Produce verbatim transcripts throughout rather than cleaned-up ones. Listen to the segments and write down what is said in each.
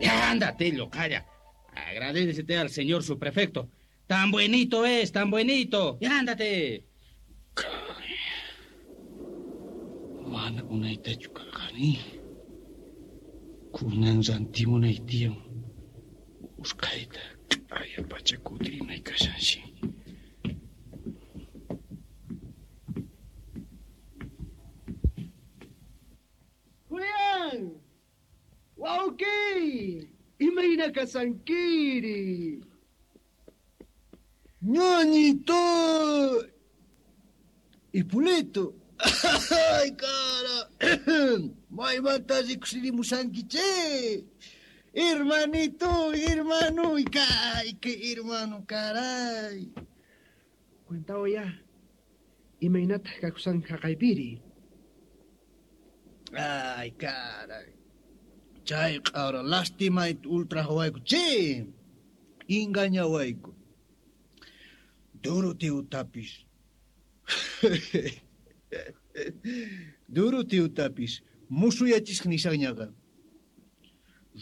Ya, ándate, locaya. Agradécete al señor subprefecto. Tan buenito es, tan buenito. Ya, ándate. Mana unaytachu karqani. Kunan rantimunay tiyan. Usqhayta q'aya pacha kutirinay kashanshi. Julián! ¡Wauki! ¡Imayna kasankiri! ¡Ñañito! ¡Hipólito! ¡Ay, cara! ¡Maymanta rikusirimusanki che! Hermanito, hermano, ¡ay, qué hermano, caray! Cuentao ya. Imaynataq kakusan haqaypiri. Ay, caray. Chay q'ara lastimayta ultrajawayku che. Engañawayku. Doroteotapis. Doroteotapis musuyachisqa nisaqñaqa.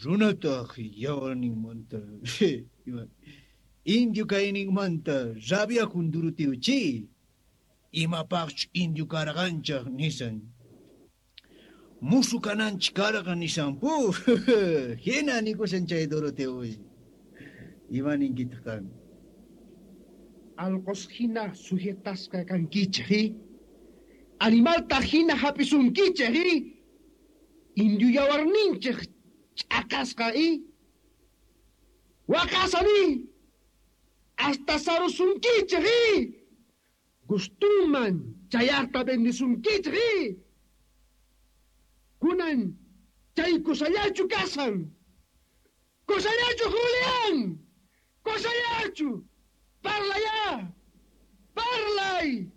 Runataq yawarninmanta indio kayninmanta rabiakun Doroteo che. Imapaqchu indio karqanchaq nisan. Musu kananchik karqa nisan pu. Hina nikusan chay Doroteo. Ima ninkitaq qan? Alqos hina sujetasqa kankichik, i? Animalta hina hapisunkichik, i? Indio yawarninchik ch'akasqa, i? Waqasani! Hasta sarusunkichik, i? Gustuman chayarta bendisunkichik, i? Kunan chay kusallachu kasan. Kusallachu, Julián! Kusallachu! ¡Parla ya! ¡Parlay!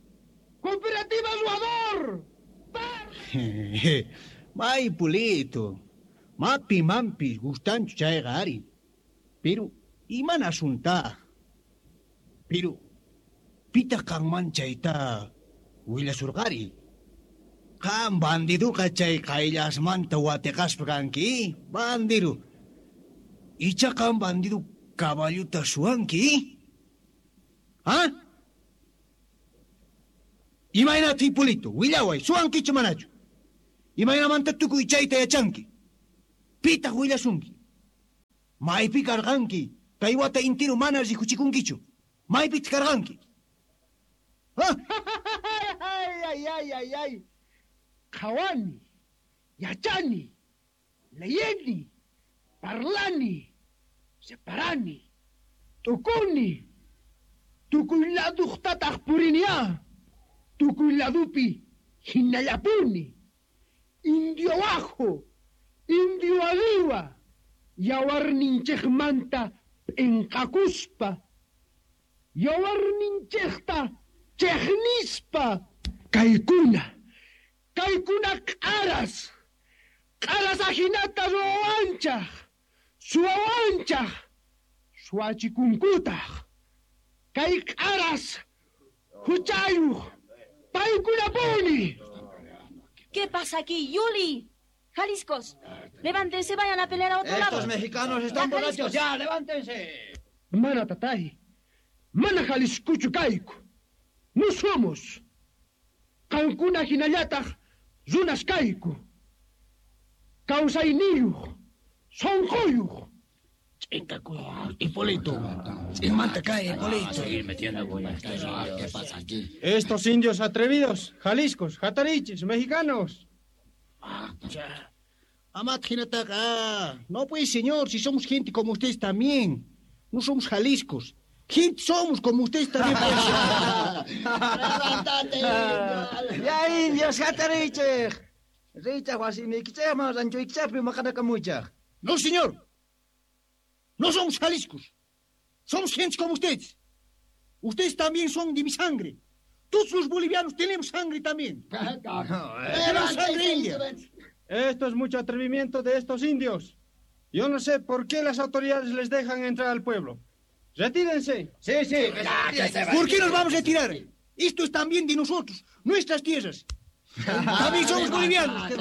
¡Cooperativa Jugador! ¡Parla! May Pulito, mapi mampis gustanchu chayqa ari. Pero iman asunta. Pero pitaq qanman chayta willasurqari. Qan bandiduqa chay qayllasmanta watiqaspa kanki, bandidu. Icha qan bandidu caballuta suwanki. ¿Ah? Imaynata Hipólito, willaway, suwankichu manachu? Imaynamanta tukuy chayta yachanki? Pitaq willasunki? Maypi karqanki? Kay wata intiru mana rikuchikunkichu. Maypitaq karqanki? ¿Ah? Ay, ay, ay, ay, ay. Qhawani, yachani, leyeni, parlani, separani, tukuni. Tukuy laduqtataq purinia, tukuy ladupi hinallapuni, indio ajo, indio arriba, yawarninchikmanta p'inqakuspa, yawarninchikta chiqnispa, kaykuna, kaykuna q'aras, q'aras ajinata ruwawanchaq, suwawanchaq, suwachikunkutaq. Kay q'aras, huchayuq, paykunapuni. ¿Qué pasa aquí, Yuli? Jaliscos, levántense, vayan a pelear a otro Estos lado. Estos mexicanos están ya, borrachos, ya, levántense. Mana tatay, mana Jaliscuchu kayku. No somos. Qankuna hinallataq runas kayku. Kawsayniyuq, sunquyuq. Hipólito, Ch'inmanta kay, Hipólito. ¿Qué pasa aquí? Estos indios atrevidos, jaliscos, jatariches, mexicanos. Amat hinataqa. No pues, señor, si somos gente como ustedes también. No somos jaliscos. Gente somos como ustedes también. ¡Levántate! ¡Ya, indios, jatariches! Richaq wasiniykichikman ranchuykichikpi maqanakamuchaq. No, señor. No somos jaliscos. Somos gente como ustedes. Ustedes también son de mi sangre. Todos los bolivianos tenemos sangre también. Tenemos sangre india. Esto es mucho atrevimiento de estos indios. Yo no sé por qué las autoridades les dejan entrar al pueblo. ¡Retírense! Sí, sí. ¿Por qué nos vamos a retirar? Esto es también de nosotros, nuestras tierras. También somos bolivianos.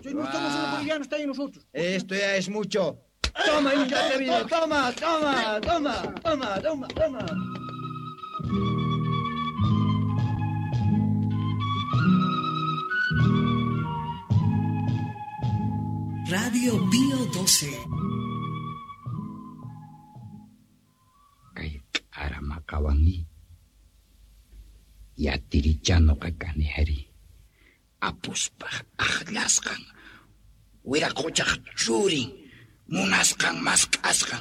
No somos solo bolivianos también nosotros. Esto ya es mucho. Toma, indio atrevido. Toma, toma, toma, toma, toma, toma. Radio Bio doce. Kay k'ara maqawanmi. Yatirichanoqa kani ari. Apuspaj aqllasqan, wiraqochaj churin, munasqan mask'asqan,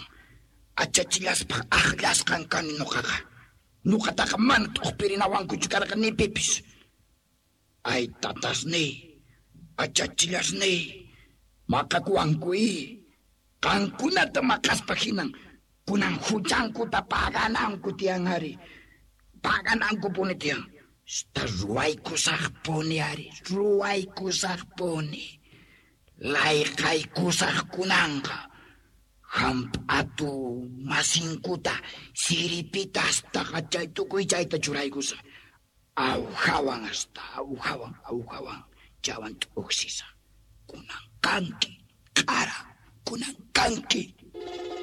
achachillaspaj aqllasqan kani noqaqa. Noqataqa mana t'uqpirinawankuchu karqa ni pipis. Ay tatasniy, achachillasniy, maqakuwanku i. Qankunata maqaspa hinan, kunan huchankuta pagananku tiyan ari. Paganankupuni tiyan. Esta ruwaykusaqpuni ari, ruwaykusaqpuni. Layqaykusaqkunanqa. Hamp'atu masinkuta siripita hasta chay tukuy chayta churaykusaq. Awjawan hasta, awjawan, awjawan, chawan t'uqsisaq. Kunan kanki, q'ara, kunan kanki.